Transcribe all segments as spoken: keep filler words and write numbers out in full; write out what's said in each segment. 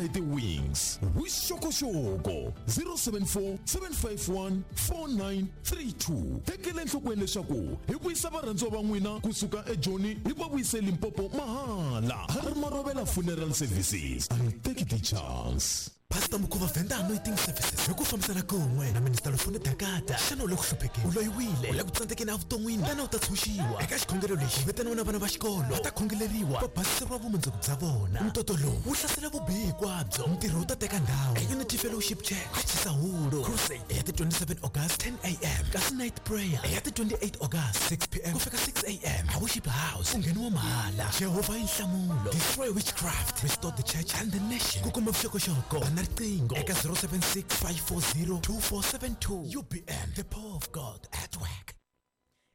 hi ti-wings. Vuxokoxoko zero seven four seven five one four nine three two. Tekela enhlokweni leswaku hi vuyisa varhandziwa va n'wina kusuka eJoni hi va vuyise Limpopo mahala. Harry Marovela Funeral Services. I take the chance. Pastor Mukhuva Venda Anointing Services hi ku fambisana kun'we na Minister Lufuno Dakata. Xana u le ku hluphekeni, u loyiwile, u le ku tsandzekeni evuton'wini, tana u ta tshunxiwa. Eka xikhongelo lexi vitaniwa na vana va xikolo va ta khongeleriwa, va basiseriwa vumundzuku bya vona. Ntoto lowu wu hlasela vubihi hinkwabyo, ntirho wu ta teka ndhawu e Unity Fellowship Church Chisahulu. Crusade ya ti twenty-seven August ten A M, kasi night prayer ya ti twenty-eight August six P M ku fika six A M a Worship House. Ku ngheniwa mahala. Jehovah i nhlamulo. Destroy witchcraft, restore the church and the nation. Ku kuma vuxokoxoko bana riqingho eka zero seven six five four zero two four seven two. U B M, the power of God at work.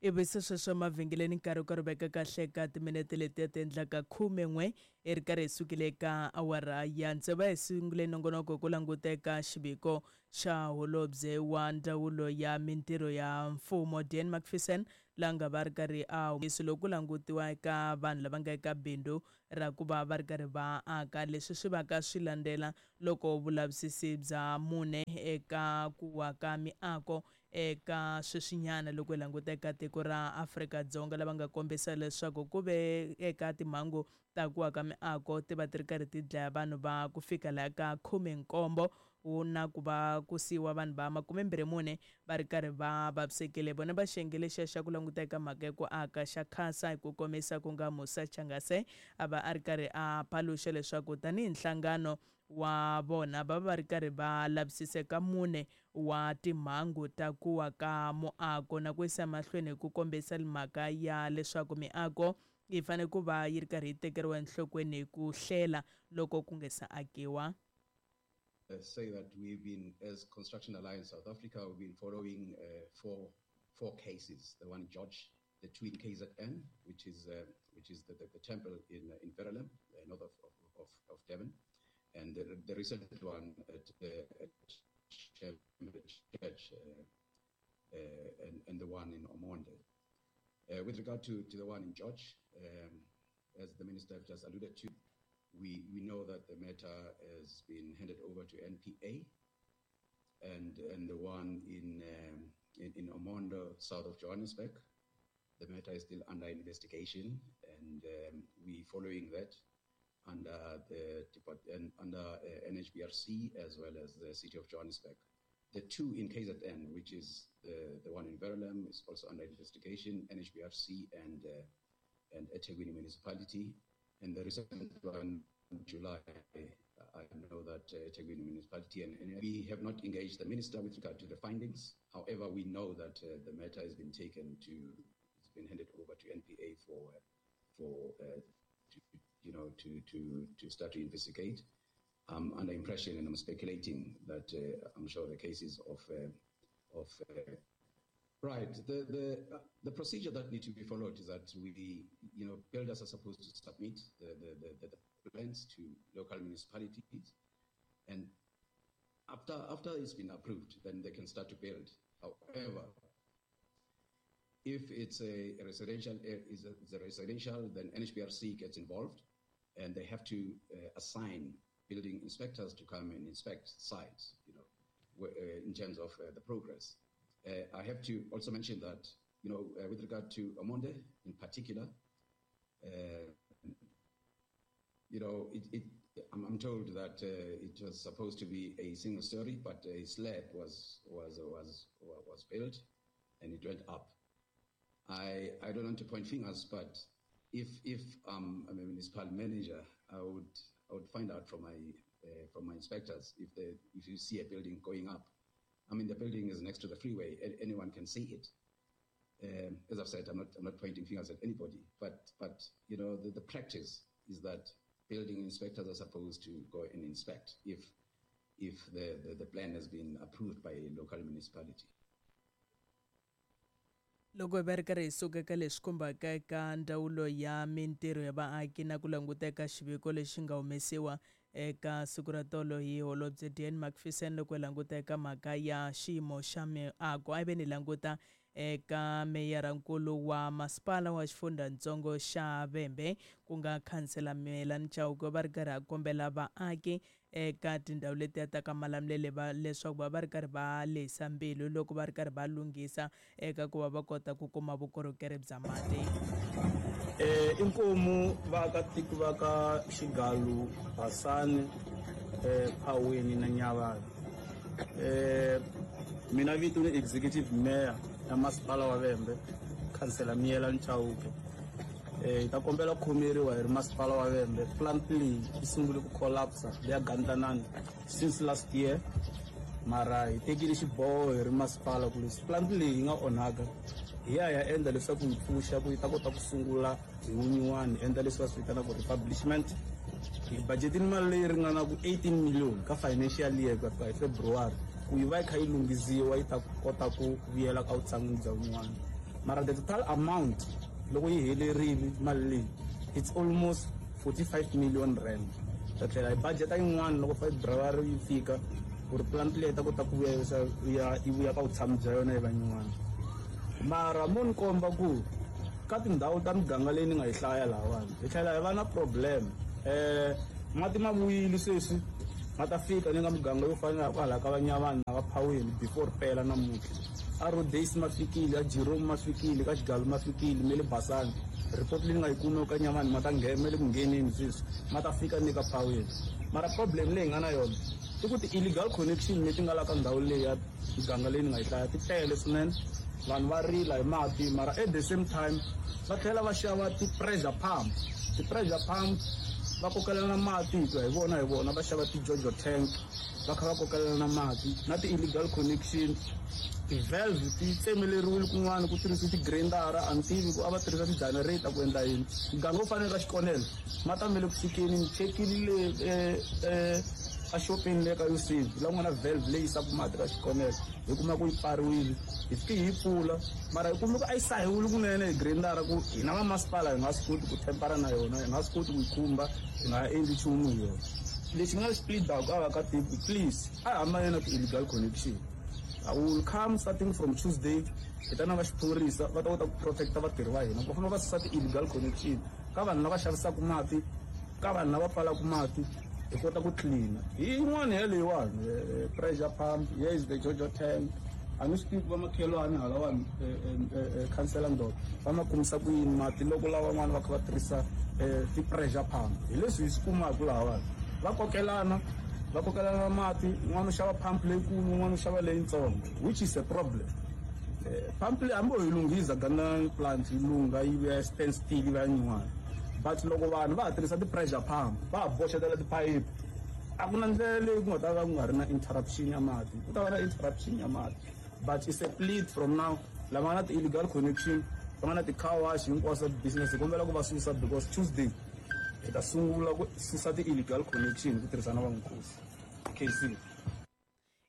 Ivi se sweswo emavhengeleni nkarhi wu karhi wu veka kahle ka timinete letiya ti endlaka khume n'we i ri karhi hi sukile eka awara ya tsevu. Hi sungule nongonoko ku languta eka xiviko xa holobye wa ndzawulo ya mintirho ya mfumo Dan Macpherson, la nga va ri karhi a humesi loko ku langutiwa eka vanhu lava nga eka bindzu ra ku va va ri karhi va aka. Leswi swi va ka swi landzela loko vulavisisi bya mune eka ku wa ka miako eka sweswinyana loko hi languta eka tiko ra Afrika-Dzonga, lava nga kombisa leswaku ku ve eka timhangu ta ku wa ka miako ti va ti ri karhi ti dlaya vanhu va ku fika laha ka khume nkombo, na ku va ku siyiwa vanhu va makume mbirhi mune va ri karhi va vavisekile. Vona va xiyenge lexiya xa ku languta eka mhaka ya ku aka xa khasa hi ku komisa ku nga Musa Changase a va a ri karhi a paluxa leswaku tanihi nhlangano wa vona va va ri karhi va lavisisa ka mune wa timhangu ta ku wa ka muako, na ku yisa mahlweni hi ku kombisa mhaka ya leswaku miako yi fanele ku va yi ri karhi yi tekeriwa enhlokweni hi ku hlela loko ku nga se akiwa. Say that we've been, as Construction Alliance South Africa, we've been following uh, four, four cases. The one in George, the two in K Z N, which is, uh, which is the, the, the temple in, uh, in Verulam, uh, north of, of, of, of Durban, and the, the recent one at, uh, at Church, uh, uh, and, and the one in Omonde. Uh, with regard to, to the one in George, um, as the minister just alluded to, we, we know that the matter has been handed over to N P A, and, and the one in, um, in, in Omondo, south of Johannesburg, the matter is still under investigation, and um, we following that under the and under uh, N H B R C as well as the city of Johannesburg. The two in K Z N, which is the, the one in Verulam, is also under investigation, N H B R C and, uh, and eThekwini Municipality. And the recent one in July, I know that uh, eThekwini Municipality, and, and we have not engaged the minister with regard to the findings. However, we know that uh, the matter has been taken to, it's been handed over to N P A for, for uh, to, you know, to, to, to start to investigate. I'm under impression, and I'm speculating that uh, I'm sure the cases of, uh, of uh, right. The, the, uh, the procedure that needs to be followed is that we, you know, builders are supposed to submit the, the, the, the plans to local municipalities, and after, after it's been approved, then they can start to build. However, if it's a residential, is a, it's a residential, then N H B R C gets involved, and they have to uh, assign building inspectors to come and inspect sites, you know, wh- uh, in terms of uh, the progress. Uh, I have to also mention that, you know, uh, with regard to Omonde in particular, uh, you know, it, it, I'm, I'm told that uh, it was supposed to be a single story, but a slab was, was, was, was built and it went up. I, I don't want to point fingers, but if, if um, I'm a municipal manager, I would, I would find out from my, uh, from my inspectors if they, if you see a building going up. I mean, the building is next to the freeway. Anyone can see it. Um, as I've said, I'm not, I'm not pointing fingers at anybody, but, but you know, the, the practice is that building inspectors are supposed to go and inspect if, if the, the, the plan has been approved by a local municipality. Loko hi va ri karhi hi suka eka leswi khumbaka eka ndzawulo ya mintirho ya vaaki na ku languta eka xiviko lexi nga humesiwa eka siku ra tolo hi holobye Dan Macpherson loko hi languta eka mhaka ya xiyimo xa miako, a hi ve ni languta eka meyarankulu wa masipala wa xifundzhantsongo xa Vhembe ku nga khansela Miyelani Chauke va ri karhi a kombela vaaki eka tindhawu letiya ta ka Malamulele va leswaku va va ri karhi va lehisa mbilu loko va ri karhi va lunghisa eka ku va va kota ku kuma vukorhokeri bya mati. Eh inkomu vaakatiko va ka Xigalu, Basani, eh Phaweni na Nyavani. Eh mina vito ni executive mayor ya masipala wa Vhembe, khansela Miyelani Chauke. Eh hi ta kombela ku khomeriwa hi ri masipala wa Vhembe. Plant leyi yi sungule ku collapse leya Gandanani since last year, mara hi tekile xiboho hi ri masipala ku leswi plant leyi yi nga onhaka hi ya ya endla leswaku yi pfuxa ku yi ta kota ku sungula hi wun'wani, endla leswi va swi vitanaka republishment. Hi budgetini mali leyi ringanaka eighteen million ka financial year ku ya fika hi February ku yi va yi kha yi lunghisiwa yi ta kota ku vuyela ka vutshan'wini bya wun'wana. Mara the total amount loko yi helerile mali leyi it's almost forty-five million rand. Ta tlhela hi budget yin'wana loko February yi fika ku ri plant leyi ta kota ku vuya yi vuya ka vutshamo bya yona yi va yin'wana. Mara mo ni komba ku ka tindhawu ta miganga leyi ni nga yi hlaya lahawani hi tlhela hi va na problem. Eh mati ma vuyile sweswi ma ta fika ni nga muganga yo fana na kwala ka Vanyavani na va Phaweni before pela namuntlha. A Rhodes ma fikile, a Jerome ma fikile, ka Xigalu ma fikile, me le Basani. Report leyi ni nga yi kuma ka Nyavani ma ta nghena me le ku ngheneni sweswi ma ta fika ni ka Phaweni. Mara problem leyi nga na yona i ku ti-illegal connection leti nga la ka ndhawu leyi ya miganga leyi ni nga yi hlaya ti tele swinene. Vanhu va rila hi mati, mara at the same time va tlhela va xava ti-pressure pump. Ti-pressure pump va kokelana mati hi ku hi vona hi vona va xava ti-jojo tank va kha va kokelana mati na ti-illegal connection. Ti-valve ti tsemeleriwile kun'wana ku tirhisiwa ti-grindara, a ni tivi ku a va tirhisa ti-generator ku endla yini. Muganga wo fanele ka Xikonelo ma ta me le ku fikeni, ni chekile le a xopeni le ka Yusuf la ku nga na valve leyi yisaka mati ka Xikonelo hi kuma ku yi pfariwile, hi fike hi yi pfula mara hi kume ku a yi sahiwile kunene hi grindara ku hina va masipala hi nga swi koti ku tempera na yona, hi nga swi koti ku yi khumba, hi nga endli nchumu hi yona. Lexi nga xi plead-aka a vaakatiko, please a hi hambane na ti-illegal connection. I will come starting from Tuesday hi ta na va xiphorisa va ta kota ku protecta vatirhi va hina. Va fanele va susa ti-illegal connection ka vanhu lava xavisaka mati, ka vanhu lava pfalaka mati, hi kota ku clean. Hi yin'wana ya leyiwani pressure pump, here is the jojo tank. A ni swi tivi ku vamakhelwani halawani khansela Ndoda va ma kumisa ku yini mati loko lavan'wana va kha va tirhisa ti-pressure pump. Hi leswi hi swi kumaka lahawani, va kokelana va kokelana mati, un'wana u xava pump leyikulu, un'wana u xava leyitsongo, which is a problem. Pump leyi hambi ho yi lunghisa Gandanani plant yi lungha yi vuya stand still yi va yin'wana, but loko vanhu va ha tirhisa ti-pressure pump va ha boxetela tiphayiphi, a ku na ndlela leyi ku nga ta va ku nga ri na interruption ya mati, ku ta va na interruption ya mati. But it's a plead from now, lava nga na ti-illegal connection, va nga na ti-car wash hinkwaswo business, hi kombela ku va susa because Tuesday hi ta sungula ku susa ti-illegal connection ku tirhisa na vankosi K C.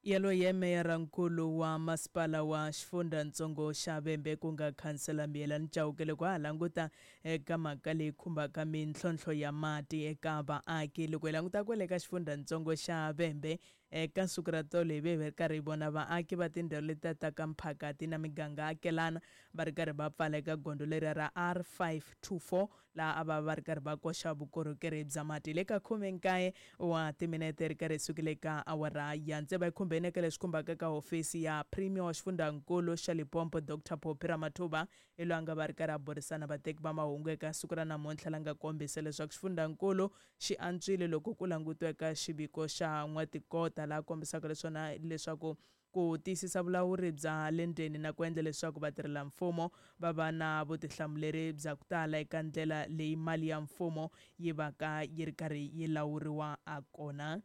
Yaloye meyarankulu wa masipala wa xifundzhantsongo xa Vhembe ku nga khansela Miyelani Chauke loko ha languta eka mhaka leyi khumbaka mintlhontlho ya mati eka vaaki. Loko hi languta kwale ka xifundzhantsongo xa Vhembe eka siku ra tolo hi ve hi ri karhi hi vona vaaki va tindhawu leti ta ka Mphakati na miganga akelana va ri karhi va pfala eka gondzo leri ra R five two four laha a va va ri karhi va koxa vukorhokeri bya mati. Le ka khumenkaye wa timinete ri karhi hi sukile ka awara ya tsevu hi khumbeni eka leswi khumbaka ka hofisi ya Premier wa xifundzhankulu xa Limpopo Doctor Phophi Ramathuba hi loyi a nga va ri karhi a burisana vateki va mahungu eka siku ra namuntlha la nga kombisa leswaku xifundzhankulu xi antswile loko ku langutiwa eka xiviko xa n'watikota laha kombisaka leswona leswaku ku tiyisisa vulawuri bya le ndzeni na ku endla leswaku vatirhelamfumo va va na vutihlamuleri bya ku tala eka ndlela leyi mali ya mfumo yi va ka yi ri karhi yi lawuriwa a kona.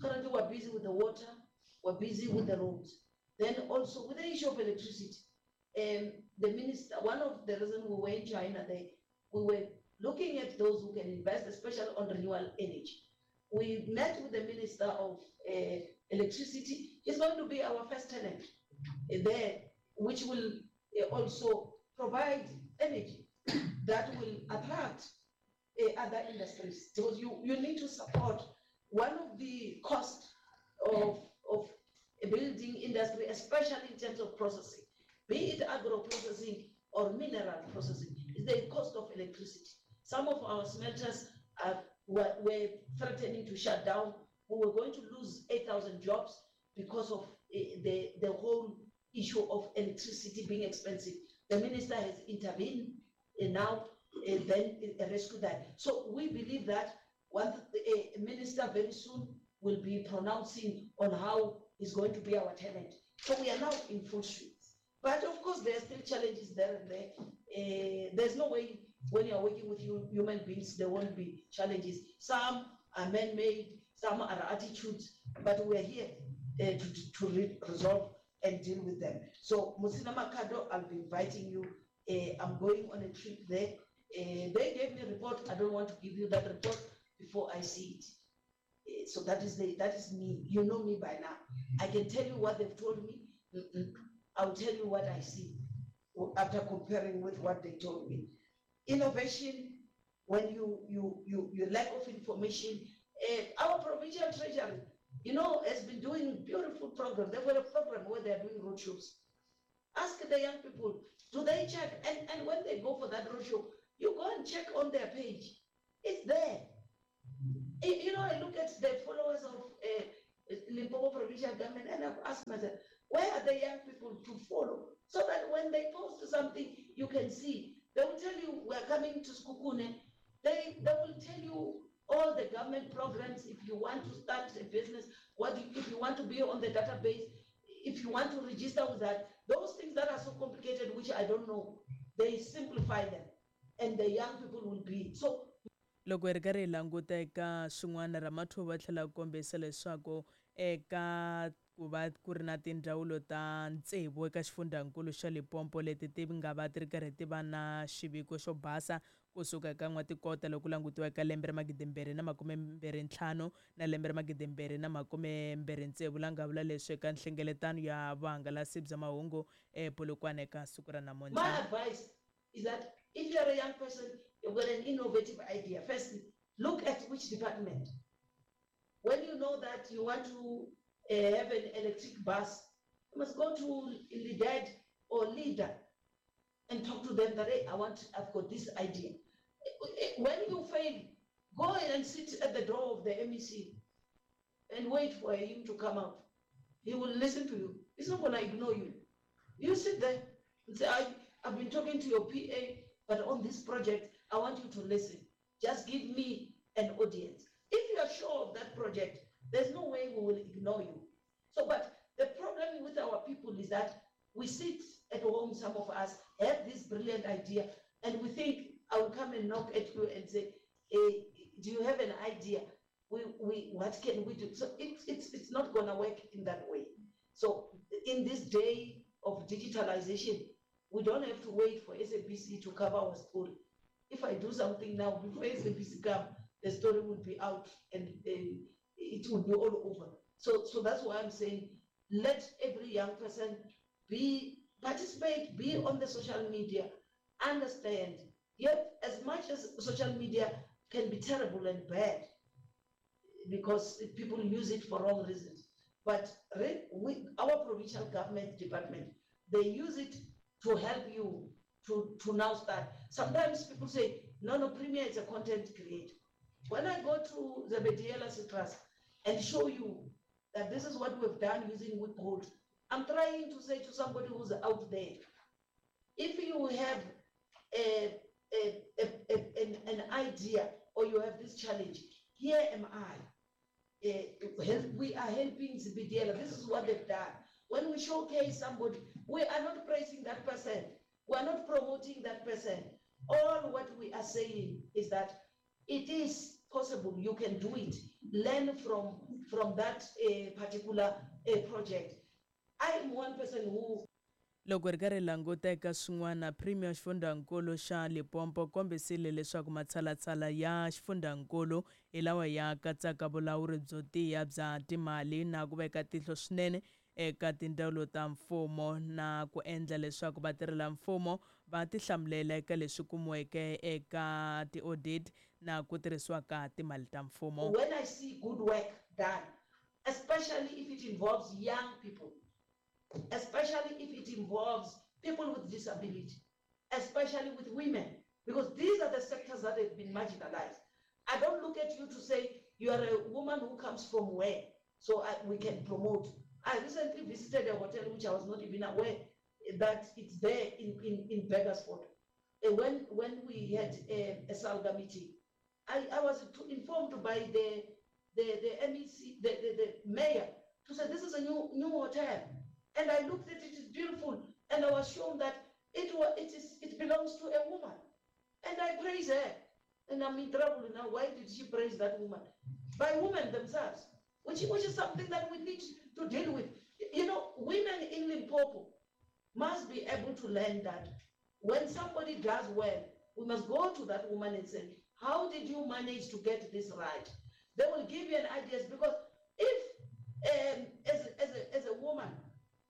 Currently we're busy with the water, we're busy with the roads. Then also with the issue of electricity, um, the minister, one of the reasons we were in China, they, we were looking at those who can invest, especially on renewable energy. We met with the Minister of uh, Electricity. He's going to be our first tenant there, which will also provide energy that will attract uh, other industries. Because you, you need to support one of the costs of, of a building industry, especially in terms of processing, be it agro-processing or mineral processing, is the cost of electricity. Some of our smelters are, were, were threatening to shut down. We were going to lose eight thousand jobs because of uh, the, the whole issue of electricity being expensive. The minister has intervened and now uh, then uh, rescued that. So we believe that one uh, minister very soon will be pronouncing on how he's going to be our tenant. So we are now in full swing. But of course, there are still challenges there and there. Uh, there's no way when you are working with human beings, there won't be challenges. Some are man-made, some are attitudes, but we are here uh, to, to re- resolve and deal with them. So, Musina Makado, I'll be inviting you. Uh, I'm going on a trip there. Uh, they gave me a report. I don't want to give you that report before I see it. Uh, so that is the, that is me. You know me by now. I can tell you what they've told me. Mm-mm. I'll tell you what I see after comparing with what they told me. Innovation, when you, you, you, you lack of information, uh, our provincial treasury, you know, has been doing beautiful programs. They've got a program where they're doing roadshows. Ask the young people, do they check? And, and when they go for that roadshow, you go and check on their page. It's there. You know, I look at the followers of uh, Limpopo Provincial Government and I've asked myself, where are the young people to follow? So that when they post something, you can see. They will tell you, we're coming to Sekhukhune. They, they will tell you all the government programs. If you want to start a business, what you, if you want to be on the database, if you want to register with that, those things that are so complicated, which I don't know, they simplify them. And the young people will be. So loko hi ri karhi hi languta eka swin'wana Ramathuba tlhela ku kombisa leswaku eka ku va ku ri na tindzawulo ta tsevu eka xifundzankulu xa Limpopo leti ti nga va ti ri karhi ti va na xiviko xo basa kusuka eka n'watikota loko langutiwa eka lembe ra magidimbirhi na makumembirhi ntlhanu na lembe ra magidimbirhi na makumembirhi tsevu la nga vula leswi eka nhlengeletano ya vuhangalasi bya mahungu ePolokwane eka siku ra namuntlha. My advice is that if you are a young person, you've got an innovative idea. Firstly, look at which department. When you know that you want to uh, have an electric bus, you must go to LEADER or LEADER and talk to them that, hey, I want, I've got this idea. When you fail, go and sit at the door of the M E C and wait for him to come out. He will listen to you. He's not gonna ignore you. You sit there and say, I, I've been talking to your P A, but on this project, I want you to listen. Just give me an audience. If you are sure of that project, there's no way we will ignore you. So, but the problem with our people is that we sit at home, some of us have this brilliant idea, and we think, I will come and knock at you and say, hey, do you have an idea? We, we, what can we do? So it's, it's, it's not gonna work in that way. So in this day of digitalization, we don't have to wait for S A B C to cover our story. If I do something now, before S A B C comes, the story will be out and uh, it will be all over. So, so that's why I'm saying, let every young person be participate, be on the social media, understand. Yet, as much as social media can be terrible and bad, because people use it for wrong reasons, but we, our provincial government department, they use it to help you to, to now start. Sometimes people say, no, no, Premier is a content creator. When I go to the Zebediela Citrus and show you that this is what we've done using Wiphold, I'm trying to say to somebody who's out there, if you have a, a, a, a, an, an idea or you have this challenge, here am I. Uh, help, we are helping Zebediela. This is what they've done. When we showcase somebody, we are not praising that person. We are not promoting that person. All what we are saying is that it is possible. You can do it. Learn from, from that uh, particular uh, project. I am one person who Loko ri karhi languta eka swin'wana, Premier xifundzankulu xa Limpopo kombisile leswaku matshalatshala ya xifundzankulu hi lawa ya katsaka vulawuri byo tiya bya timali na ku veka tihlo swinene eka tindzawulo ta mfumo na ku endla leswaku vatirhela mfumo va tihlamulela eka leswi kumiweke eka ti-audit na ku tirhisiwa ka timali ta mfumo. When I see good work done, especially if it involves young people, especially if it involves people with disability, especially with women, because these are the sectors that have been marginalized. I don't look at you to say you are a woman who comes from where, so I, we can promote. I recently visited a hotel which I was not even aware that it's there in, in, in Burgersfort. When, when we had a, a SALGA meeting, I, I was informed by the, the, the M E C, the, the, the mayor, to say this is a new, new hotel. And I looked at it, it's beautiful. And I was shown that it, was, it, is, it belongs to a woman. And I praise her. And I'm in trouble now. Why did she praise that woman? By women themselves, which, which is something that we need to deal with. You know, women in Limpopo must be able to learn that when somebody does well, we must go to that woman and say, how did you manage to get this right? They will give you an idea, because if, um, as, as, a, as a woman,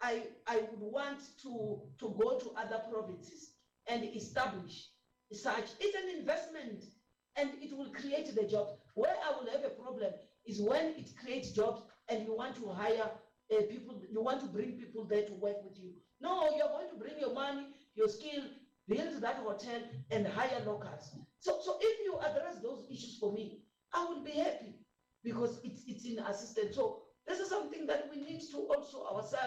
I, I would want to, to go to other provinces and establish such, it's an investment and it will create the jobs. Where I will have a problem is when it creates jobs and you want to hire uh, people, you want to bring people there to work with you. No, you're going to bring your money, your skill, build that hotel and hire locals. So, so if you address those issues for me, I will be happy because it's, it's in assistance. So this is something that we need to also ourselves